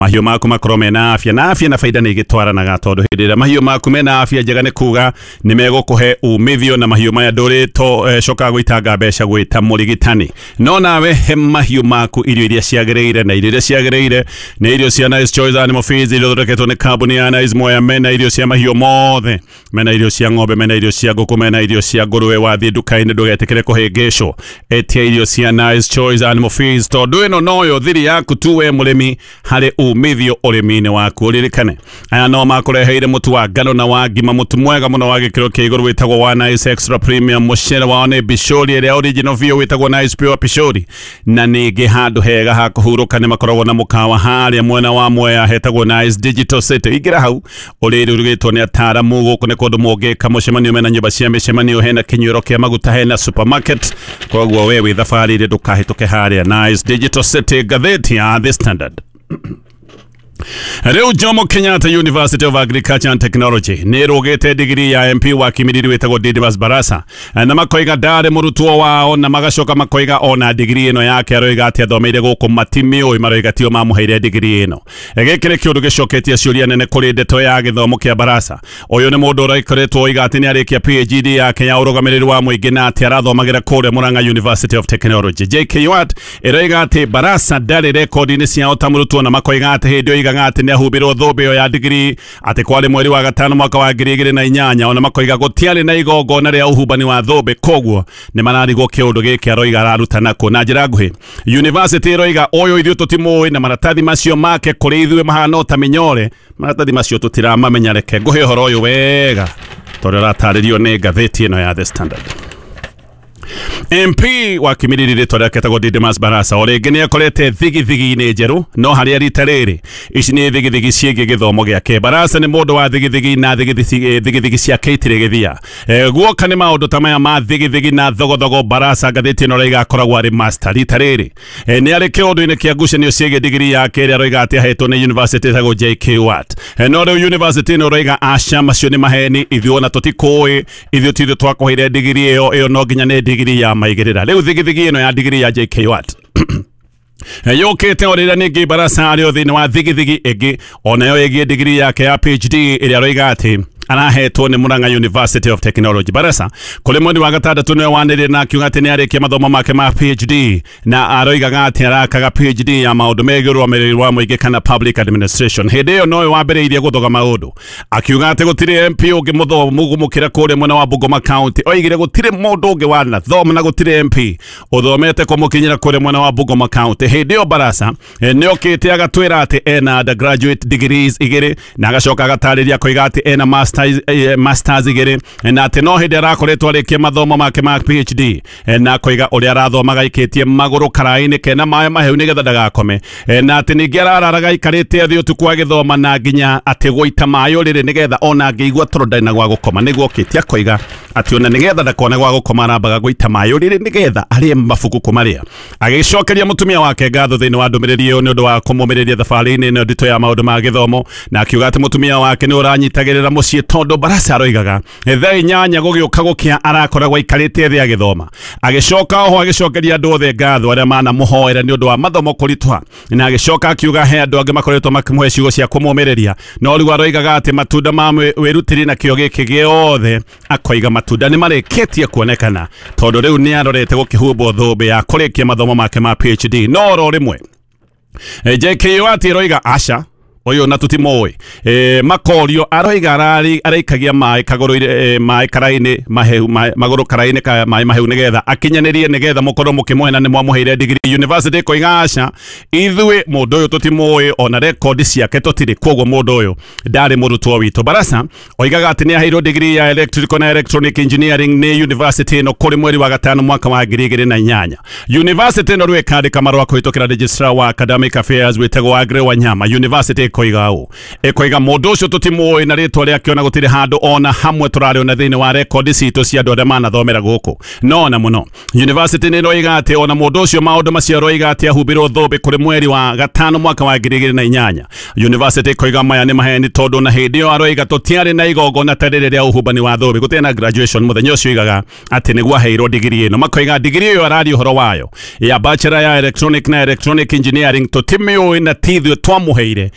Mahiũ maku makorwo mena afya, na afya na faida nĩ igĩtwaranaga, tondũ hĩndĩ ĩrĩa mahiũ maku mena afya njega nĩ kuga nĩ megũkũhe umithio, na mahiũ maya ndũrĩ cokaga gũitanga mbeca gwĩta mũrigitani. No nawe he mahiũ maku irio iria ciagĩrĩire, na irio iria ciagĩrĩire nĩ irio cia Nice Choice Animal Feeds, iria ithondeketwo nĩ kambuni ya Nice Mwea. Mena irio cia mahiũ mothe, mena irio cia ng'ombe, mena irio cia ngũkũ, mena irio cia ngũrũwe. Wathiĩ nduka-inĩ ndũgetĩkĩre kũhĩngĩcwo, etia irio cia Nice Choice Animal Feeds, tondũ ĩno noyo thiri yaku tu we mũrĩmi harĩ umithio ũrĩmi-inĩ waku. Ũririkane aya no makũreheire mũtu wa ngano na wa ngima, mũtu mwega mũno wa gĩkĩro kĩa igũrũ wĩtagwo wa Nice Extra Premium. Mũcere wao nĩ Bishori ĩrĩa original biũ wĩtagwo Nice Pure Pishori, na ningĩ handũ hega ha kũhurũka nĩ makoragwo na mũkawa harĩa mwena wa Mwea hetagwo Nice Digital City. Ingĩra hau ũrĩrĩ ũrugĩtwo nĩ ataaramu. Gũkũ nĩ kũndũ mũngĩka mũcemanio, mena nyũmba cia mĩcemanio, hena kĩnyuĩro kĩa maguta, hena supermarket. Koguo we wĩ thabarĩ-inĩ ndũkahĩtũke harĩa Nice Digital City. Ngathĩti ya The Standard. Rĩu Jomo Kenyatta University of Agriculture and Technology nĩ ĩrũgĩte digiri ya MP wa Kimilili wĩtagwo Didmus Barasa, na makoiga ndarĩ mũrutwo wao, na magacoka makoiga ona digiri ĩno yake aroiga atĩ athomeire gũkũ matimĩũĩ, maroiga tio mamũheire digiri ĩno. Gĩkĩ nĩ kĩũndũ gĩcoketie ciũria nene kũrĩ ndeto ya gĩthomo kĩa Barasa. Ũyũ nĩ mũndũ ũrakoretwo oiga atĩ nĩ arĩkia PhD yake ya ũrũgamĩrĩri wa mũingĩ, na atĩ arathomagĩra kũrĩa Murang'a University of Technology. JKUAT ĩroiga atĩ Barasa ndarĩ rekondi-inĩ ciao ta mũrutwo, na makoiga atĩ hĩndĩ ĩyo oigaga atĩ nĩ ahumbĩrwo thũmbĩ ĩyo ya digiri atĩ kwarĩ mweri wa gatano mwaka wa 2008, ona makoiga gũtiarĩ na igongona rĩa ũhumbani wa thũmbĩ, koguo nĩ mararigwo kĩũndũ gĩkĩ aroiga ararutana kũ. Na njĩra nguhĩ, university ĩroiga ũyũ ithuĩ tũtimũĩ, na maratathi macio make kũrĩ ithuĩ mahana o ta mĩnyore, maratathi macio tũtiramamenya. Reke ngũhe ũhoro ũyũ wega tondũ ũratarĩrio nĩ ngathĩti ĩno ya The Standard. MP wa Kimilili rĩtwa rĩake etagwo Didmus Barasa o rĩngĩ nĩ akorete thigithigi-inĩ njerũ, no harĩa rita rĩrĩ ici nĩ thigithigi ciĩgiĩ gĩthomo gĩake. Barasa nĩ mũndũ wa thigithigi, na thigithigi thigithigi ciake itirĩ gĩthia. Guoka nĩ maũndũ ta maya ma thigithigi na thogothogo, Barasa ngathĩti ĩno raiga akoragwo arĩ master. Rita rĩrĩ nĩ arĩ kĩũndũ-inĩ kĩa ngucanio ciĩgiĩ digiri yake ĩrĩa aroiga atĩ ahetwo nĩ university ĩtagwo JKUAT. No rĩu university ĩno ĩroiga aca, macio nĩ maheni, ithuĩ ona tũtikũĩ, ithuĩ ti ithuĩ twakũheire digiri ĩyo, ĩyo no nginya nĩ digiri ya maigĩrĩra. Rĩu thigithigi ĩno ya digiri ya JKUAT yũkĩte o rĩrĩa ningĩ Barasa arĩ o thĩinĩ wa thigithigi ĩngĩ onayo ĩgiĩ digiri yake ya PhD ĩrĩa aroiga atĩ arahetwo nĩ Murang'a University of Technology. Barasa kũrĩ mweri wa gatandatũ nĩwe wanĩrĩire na akiuga atĩ nĩ arĩkia mathomo make ma PhD, na aroigaga atĩ arakaga PhD ya maũndũ megiĩ ũrũgamĩrĩri wa mũingĩ kana public administration. Hĩndĩ ĩyo nowe wambĩrĩirie gũthoga maũndũ akiuga atĩ gũtirĩ MP ũngĩ mũthomu gũmũkĩra kũrĩa mwena wa Bungoma County. Oigire gũtirĩ mũndũ ũngĩ wanathoma na gũtirĩ MP ũthomete kũmũkinyĩra kũrĩa mwena wa Bungoma County. Hĩndĩ ĩyo Barasa nĩ okĩte agatwĩra atĩ ena undergraduate degrees igĩrĩ, na agacoka agatarĩria koiga atĩ ena masters igĩrĩ, na atĩ no hĩndĩ arakoretwo arĩkia mathomo make ma PhD, na akoiga ũrĩa arathomaga aikĩtie magũrũ karaĩ-inĩ kena maĩ mahehu nĩgetha ndagakome, na atĩ ningĩ arararaga aikarĩte thĩ ũtukũ agĩthoma, na nginya atĩ gũita maĩ ũrĩrĩ nĩgetha ona angĩigua toro ndarĩ na gwa gũkoma. Nĩguo okĩte akoiga atĩ ona nĩgetha ndakone gwa gũkoma arambaga gũita maĩ ũrĩrĩ nĩgetha arĩe mabuku kũmarĩa. Agĩcokeria mũtumia wake ngatho thĩinĩ wa ndũmĩrĩri ĩyo nĩ ũndũ wa kũmũmĩrĩria thabarĩ-inĩ ĩno nditũ ya maũndũ ma gĩthomo, na akiuga atĩ mũtumia wake nĩ ũranyitagĩrĩra mũciĩ, tondũ Barasa aroigaga thaa 8 gũgĩũka gũkĩa arakoragwo aikarĩte thĩ agĩthoma. Agĩcoka oho agĩcokeria andũ othe ngatho arĩa manamũhoera nĩ ũndũ wa mathomo kũritũha, na agĩcoka akiuga he andũ angĩ makoretwo makĩmũhe ciugo cia kũmũmĩrĩria, no rĩu aroigaga atĩ matunda ma wĩrutĩri na kĩo gĩkĩ gĩothe, akoiga matunda nĩ marĩkĩtie kuonekana, tondũ rĩu nĩ arorete gũkĩhumbwo thũmbĩ ya kũrĩkia mathomo make ma PhD. No oro rĩmwe JKUAT ĩroiga aca, ũyũ na tũtimũĩ. Makorio aroiga araikagia maĩ kagũrũ, maĩ karaĩ-inĩ mahehu, magũrũ karaĩ-inĩ ka maĩ mahehu nĩgetha akinyanĩrie, nĩgetha mũkorwo mũkĩmũhe na nĩ mwamũheire digiri. University ĩkoiga aca, ithuĩ mũndũ ũyũ tũtimũĩ, ona rekondi ciake tũtirĩ, koguo mũndũ ũyũ ndarĩ mũrutwo witũ. Barasa oigaga atĩ nĩ aheirwo digiri ya electrical na electronic engineering nĩ university ĩno kũrĩ mweri wa gatano mwaka wa 2008. University ĩno rĩu ĩkandĩka marũa kũhĩtũkĩra registrar wa academic affairs wĩtagwo Agre Wanyama. University Ĩkoiga ũũ, ĩkoiga mũndũ ũcio tũtimũĩ na rĩtwa rĩake, ona gũtirĩ handũ ona hamwe tũrarĩona thĩinĩ wa rekondi citũ cia andũ arĩa manathomera gũkũ. No ona mũno university nĩ ĩroiga atĩ ona mũndũ ũcio maũndũ macio aroiga atĩ ahumbĩrwo thũmbĩ kũrĩ mweri wa gatano mwaka wa 2008, university ĩkoiga maya nĩ maheni, tondũ na hĩndĩ ĩyo aroiga tũtiarĩ na igongona ta rĩrĩ rĩa ũhumbani wa thũmbĩ, gũtiarĩ na graduation mũthenya ũcio oigaga atĩ nĩguo aheirwo digiri ĩno. Makoiga digiri ĩyo araria ũhoro wayo ya bachelor ya electronic na electronic engineering tũtimĩũĩ na ti ithuĩ twamũheire.